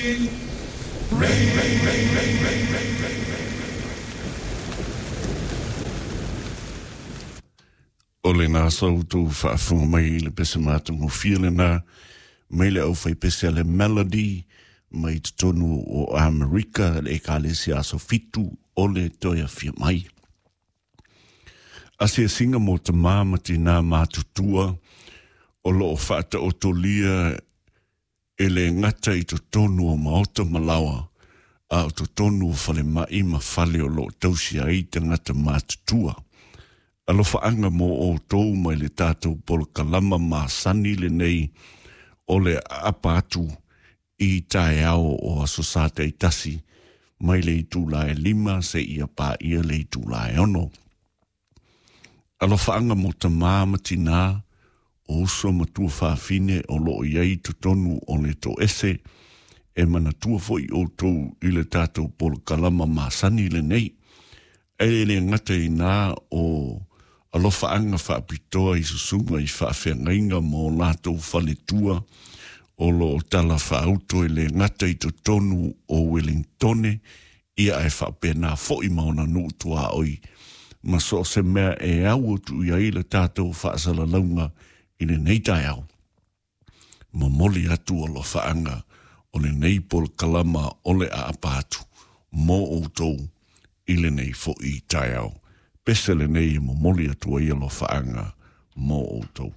O lena sa outou faafofoga mai i le pese matagofie lena mai le aufaipese a le Melody mai totonu o Amerika, le Ekalesia Aso Fitu o le Toe Afia Mai. Asiasiga mo tamā ma tinā matutua o loo faataotolia e le gata i totonu o maota ma laoa, a o totonu o falemai ma fale o loo tausi ai tagata matutua. Alofaaga mo outou mai le tatou polokalama masani lenei o le aapa atu i taeao o Aso Sa taitasi mai le itula e 5 seia paia le itula e 6. Alofaaga mo tamā ma tinā, o uso ma tuafafine o loo i ai totonu o le toese, e manatua foi outou i le tatou polokalama masani lenei. E le gata i nā o alofaaga faapitoa i susuga i faafeagaiga ma o latou faletua o loo talafaauto e le gata i totonu o Wellingtone, ia ae faapena foi ma ona nuu tuaoi ma so o se mea e au atu i ai le tatou faasalalauga i lenei taeao. Momoli atu alofaaga o lenei polokalama o le aapa atu mo outou i lenei foi taeao. Pese lenei e momoli atu ai alofaaga mo outou.